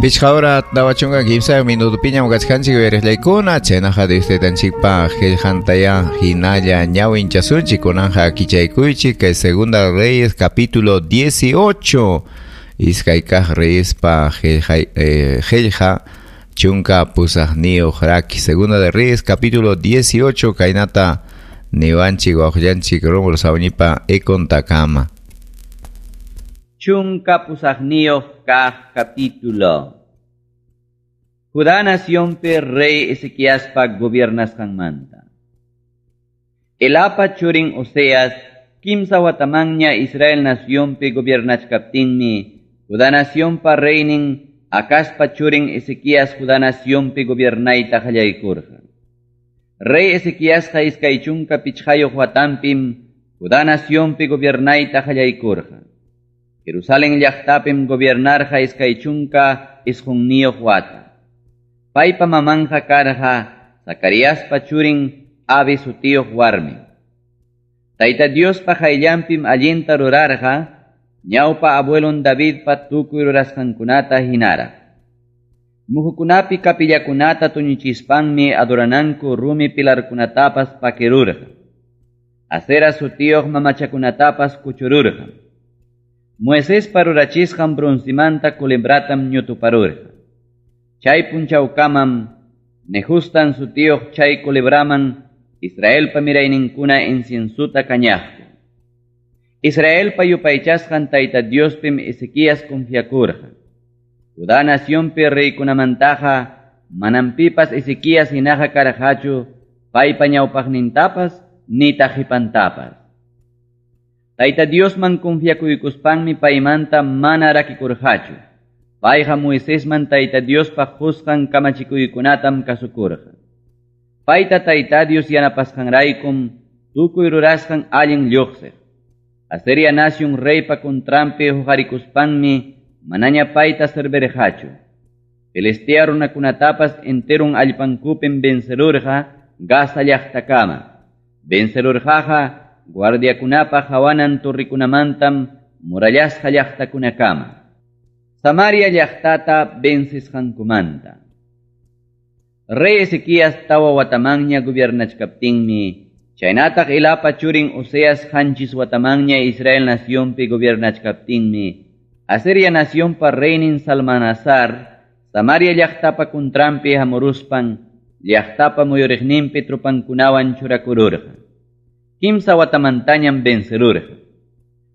Pichqa hora 43 minutopiñam kachkanchik uyariqllaykuna, chaynaqa Dios taytanchikpa qillqantayá hinalla ñawinchasunchik, kunanqa kichaykuychik kay Segunda Reyes capítulo 18, iskay kaq Reyespa qillqa 18 raki. Segunda de Reyes capítulo 18, kaynata niwanchik wawqillanchik Rómulo Sawñipa ekontakama. 18 kaq capítulo. Judá nacionpi rey Ezequiaspa gobiernasqanmanta. Elapa churin Oseas 3 watamanña Israel nacionpi gobiernachkaptinmi Judá nacionpa reynin Acazpa churin Ezequías Judá nacionpi gobiernayta qallaykurqa. Rey Ezequiasqa 25 watampim Judá nacionpi gobiernayta qallaykurqa. Jerusalén llaqtapim gobiernarqa 29 wata. Paypa mamanja karqa Zacariaspa churin Abi sutiyuq warmi. Tayta Diospa qayllanpim allinta rurarqa, ñawpa abuelon Davidpa tukuy rurasqankunata hinaraq. Muhukunapi kapillakunata tuñichispanmi adorananku rumi pilarkunatapas pakirurqa. Asera sutiyuq mamachakunatapas kuchururqa. Moisespa rurachisqan broncimanta culebratam ñutuparurqa. Chay punchawkamam Nejustan sutiyuq chay culebraman Israelpa mirayninkuna inciensuta kañaqku. Israelpa yupaychasqan Tayta Diospim Ezequías confiakurqa. Judá nacionpi reykunamantaqa manam pipas Ezequías hinaqa karqachu paypa ñawpaqnintapas nitaq qipantapas. Tayta Diosman confiakuykuspanmi paymanta mana rakikurqachu. Payqa Moisesman Tayta Diospa qusqan kamachikuykunatam kasukurqa. Payta Tayta Dios yanapasqanraykum tukuy rurasqan allin lluqsiq. Asiria nación reypa contranpi huqarikuspanmi manaña payta servirqachu. Filistea runakunatapas enterun allpankupim vencerurqa Gaza llaqtakama. Vencerurqaqa guardiakunapa hawanan torrikunamantam murallasqa llaqtakunakama. Samaria llaqtata vencisqankumanta. Rey Ezequías 4 watamanña gobiernachkaptinmi, chaynataq Elapa churin Oseas 7 watamanña Israel nacionpi gobiernachkaptinmi, Asiria nacionpa reynin Salmanasar, Samaria llaqtapa contranpi hamuruspan, llaqtapa muyuriqninpi tropankunawan churakururqa. 3 watamantañam vencerurqa.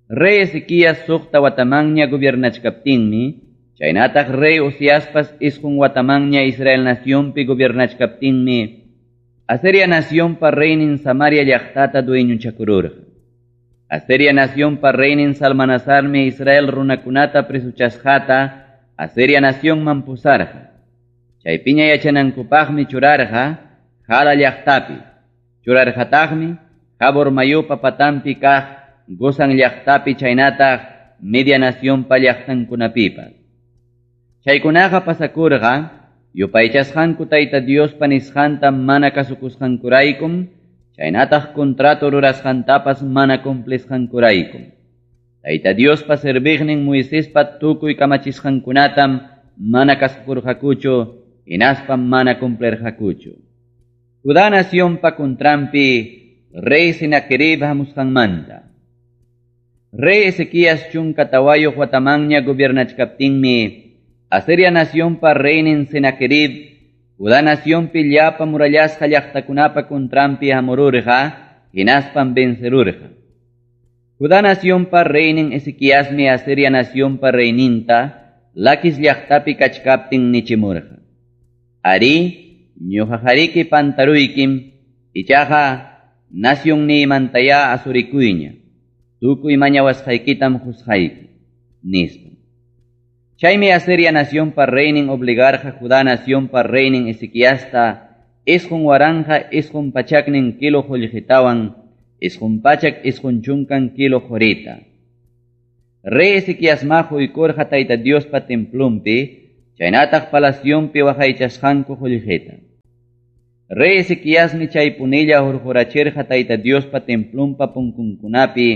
Rey Ezequías 6 watamanña gobiernachkaptinmi, chaynataq rey Oseaspas 9 watamanña Israel nacionpi gobiernachkaptinmi, Asiria nacionpa reynin Samaria llaqtata dueñochakururqa. Asiria nacionpa reynin Salmanasarmi Israel runakunata presuchasqata Asiria nacionman pusarqa. Chaypiña yachanankupaqmi churarqa Jala llaqtapi. Churarqataqmi Jabor mayupa patampi kaq Gozan llaqtapi chaynataq Media nacionpa llaqtankunapipas. Chaykunaqa pasakurqa yupaychasqanku Tayta Diospa nisqanta mana kasukusqankuraykum, chaynataq contrato rurasqantapas mana cumplisqankuraykum. Tayta Diospa serviqnin Moisespa tukuy kamachisqankunatam mana kasukurqakuchu, hinaspam mana cumplirqakuchu. Judá nacionpa contranpi rey Senaquerib hamusqanmanta. Rey Ezequías 14 watamanña gobiernachkaptinmi, Asiria nacionpa reynin Senaquerib, Judá nacionpi llapa murallasqa llaqtakunapa contranpi hamururqa, hinaspam vencerurqa. Judá nacionpa reynin Ezequiasmi Asiria nacionpa reyninta, Laquis llaqtapi kachkaptin nichimurqa. Ari, ñuqajariki pantaruykim, ichaqa nacionniymantaya asurikuyña, tukuy mañawasqaykitam qusqayki, nispa. Chaymi Asiria nacionpa reynin obligarqa Judá nacionpa reynin Ezequiasta 9940 kilo qullqitawan, 990 kilo qurita. Rey Ezequiasma huykurqa Tayta Diospa templonpi, chaynataq palacionpi waqaychasqanku qullqita. Rey Ezequiasmi chaypunilla hurqurachirqa Tayta Diospa templonpa punkunkunapi,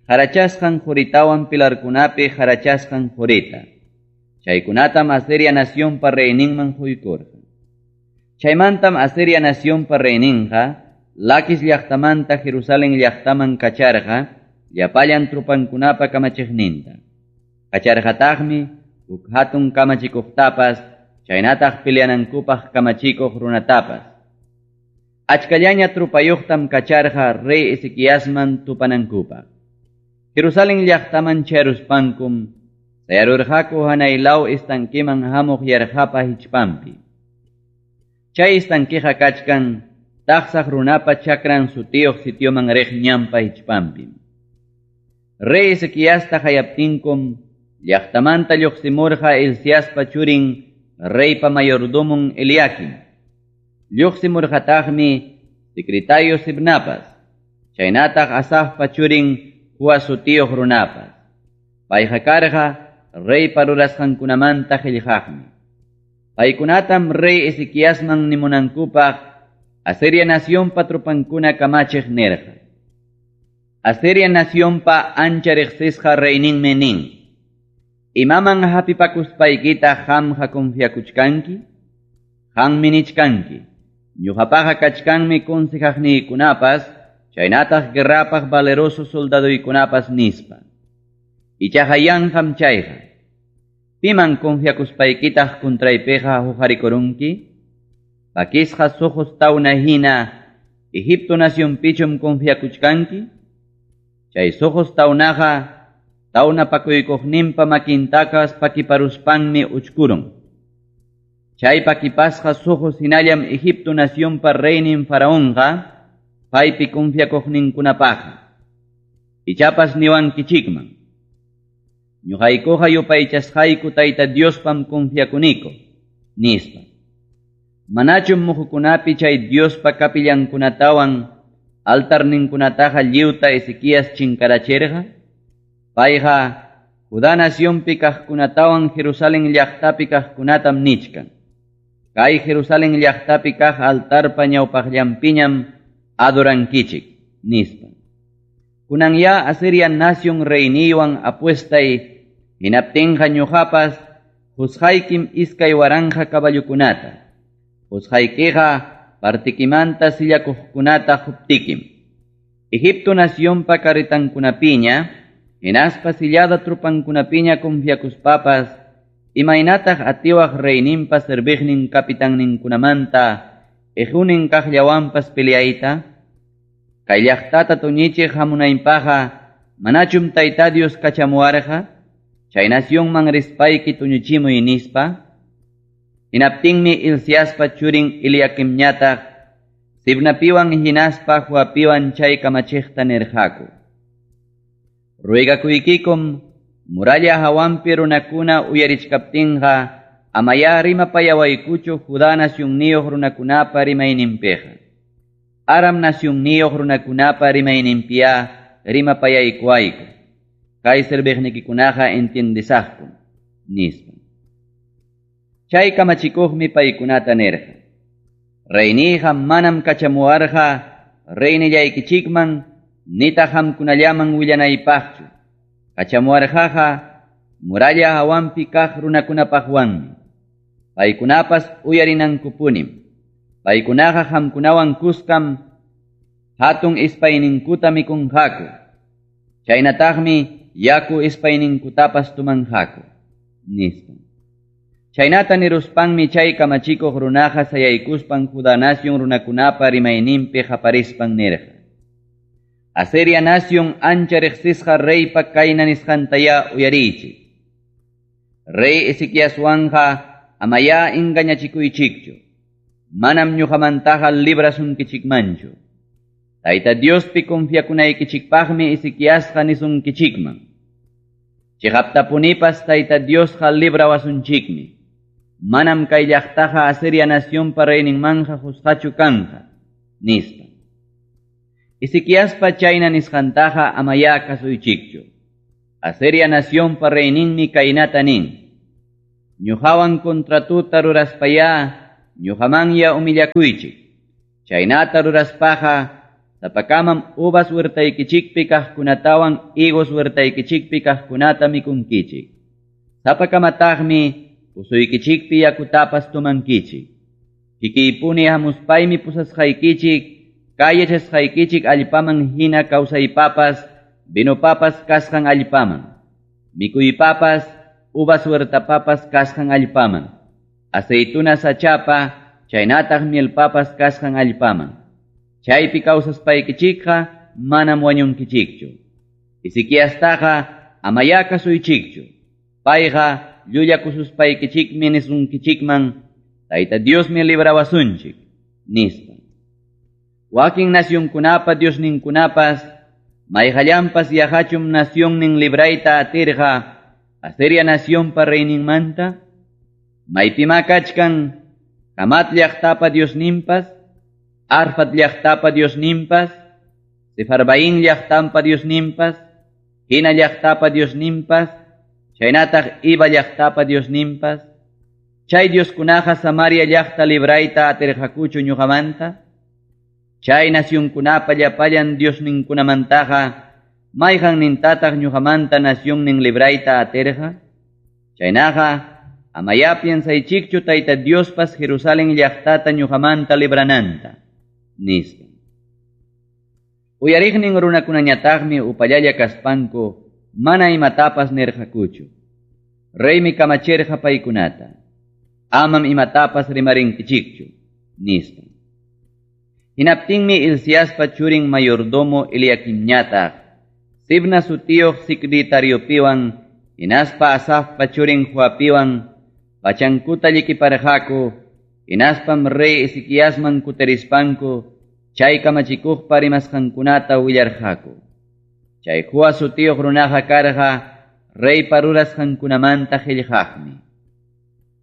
harachasqan quritawan pilarkunapi harachasqan qurita. Chaykunatam Asiria nacionpa reyninman quykurqa. Chaymantam Asiria nacionpa reyninqa Laquis llaqtamanta Jerusalén llaqtaman kacharqa llapallan trupankunapa kamachiqninta. Kacharqataqmi huk hatun kamachikuqtapas chaynataq peleanankupaq kamachikuq runatapas. Achkallaña trupayuqtam kacharqa rey Ezequiasman tupanankupaq. Jerusalén llaqtaman charuspankum sayarurqaku hanaylaw estanqueman hamuq yarqapa hichpanpi. Chay estanqueqa kachkan taqsaq runapa chakran sutiyuq sitioman riq ñanpa hichpanpim. Rey Ezequiasta hayaptinkum llaqtamanta lluqsimurqa Hilciaspa churin reypa mayordomon Eliakim. Lluqsimurqataqmi secretario Sibnapas, chaynataq Asafpa churin Joa sutiyuq runapas. Payqa karqa reypa rurasqankunamanta qillqaqmi. Paykunatam rey Ezequiasman nimunankupaq Asiria nacionpa trupankuna kamachiq nirqa. Asiria nacionpa ancha riqsisqa reyninmi nin: Imaman hapipakuspaykita qamqa confiakuchkanki? Qammi nichkanki. Ñuqapaqa kachkanmi consejaqniykunapas, chaynataq guerrapaq valeroso soldaduykunapas nispa. Ichaqa yanqam chayqa. Piman confiakuspaykitaq contraypiqa huqarikurunki? Pakisqa suqus tawna hina Egipto nacionpichum confiakuchkanki? Chay suqus tawnaqa tawna pakuykuqninpa makintakas pakiparuspanmi uchkurun. Chay pakipasqa suqus hinallam Egipto nacionpa reynin faraonqa paypi confiakuqninkunapaqqa. Ichapas niwankichikman. Ñuqaykuqa yupaychasqayku Tayta Diospam confiakuniku, nispa. Manachum muhukunapi chay Diospa kapillankunatawan altarninkunataqa lliwta Ezequías chinkarachirqa? Payqa Judá nacionpi kaqkunatawan Jerusalén llaqtapi kaqkunatam nichkan. Kay Jerusalén llaqtapi kaq altarpa ñawpaqllanpiñam adorankichik, nispa. Kunan ya Asiria nación reyniywan apuestay hinaptinqa ñuqapas husqaykim 2000 caballokunata. Husqaykiqa partikimanta sillakuqkunata huptikim. Egipto nacionpa carretankunapiña hinaspa sillada trupankunapiña confiakuspapas imaynataq atiwaq reyninpa serviqnin capitanninkunamanta ejunin kaqllawanpas peleayta? Kay llaqtata tuñichiq hamunaypaqqa manachum Tayta Dios kachamuwarqa? Chay nacionman rispayki tuñuchimuy nispa. Hinaptinmi Hilciaspa churin Eliakimñataq Sibnapiwan hinaspa Joapiwan chay kamachiqta nirqaku. Ruegakuykikum muralla hawanpi runakuna uyarichkaptinqa amaya rimapayawaykuchu Judá nacionniyuq runakunapa rimayninpiqa. Aram nacionniyuq runakunapa rimayninpiya rimapayaykuwayku. Kay serviqnikikunaqa entiendesaqku, nispa. Chay kamachikuqmi paykunata nirqa: Reyniyqa manam kachamuwarqa reynillaykichikman nitaq qamkunallaman willanaypaqchu. Kachamuwarqaqa muralla hawanpi kaq runakunapaqwanmi. Paykunapas uyarinankupunim. Paykunaqa qamkunawan kuskam hatun ispayninkuta mikunqaku. Chaynataqmi yaku ispayninkutapas tumanqaku, nispa. Chaynata niruspanmi chay kamachikuq runaqa sayaykuspan Judá nación runakunapa rimayninpi qaparispan nirqa: Asiria nación ancha riqsisqa reypa kayna nisqantaya uyariychik. Rey Ezequiaswanqa amaya engañachikuychikchu. Manam ñuqamantaqa librasunkichikmanchu. Tayta Diospi confiakunaykichikpaqmi Ezequiasqa nisunkichikman. Chiqaptapunipas Tayta Diosqa librawasunchikmi. Manam kay llaqtaqa Asiria nacionpa reyninmanja husqachu kanqa, nispa. Ezequiaspa chayna nisqantaqa amaya kasuychikchu. Asiria nacionpa reyninmi kaynata nin: Ñuqawan contratuta ruraspaya ñuqamanya humillakuychik. Chaynata ruraspaqa sapakamam uvas huertaykichikpi kaqkunatawan higos huertaykichikpi kaqkunata mikunkichik. Sapakamataqmi pusuykichikpi yakutapas tomankichik. Kikiypuni hamuspaymi pusasqaykichik, kay yachasqaykichik allpaman hina kawsaypapas, vinopapas kasqan allpaman. Mikuypapas, uvas huertapapas kasqan allpaman. Aceituna sachapa, chaynataq mielpapas kasqan allpaman. Chaypi kawsaspaykichikqa manam wañunkichikchu. Ezequiastaqa amaya kasuychikchu. Payqa llullakususpaykichikmi nisunkichikman, Tayta Diosmi librawasunchik, nispa. Wakin nacionkunapa Diosninkunapas, mayqallanpas yaqachum nacionnin librayta atirqa Asiria nacionpa reyninmanta, maypima kachkan Hamat llaqtapa Diosninpas, Arfat llaqtapa Diosninpas, Sefarvaín llaqtampa Diosninpas, Hina llaqtapa Diosninpas, chaynataq Iva llaqtapa Diosninpas, chay Dioskunaqa Samaria llaqta librayta atirqakuchu ñuqamanta, chay nacionkunapa llapallan Diosninkunamantaqa mayqannintataq ñuqamanta nacionnin librayta atirqa, chaynaqa amaya piensaychikchu Tayta Diospas Jerusalén llaqtata ñuqamanta librananta, nispa. Uyariqnin runakunañataqmi upallalla kaspanku mana imatapas nirqakuchu. Reymi kamachirqa paykunata. Amam imatapas rimarinkichikchu, nispa. Hinaptinmi Hilciaspa churin mayordomo Eliaquimñataq, Sibna sutiyuq secretariopiwan, hinaspa Asafpa churin Joapiwan, pachankuta llikiparqaku, hinaspam rey Ezequiasman kutirispanku, chay kamachikuqpa rimasqankunata willarqaku. Chay Joa sutiyuq runaqa karqa reypa rurasqankunamanta qillqaqmi.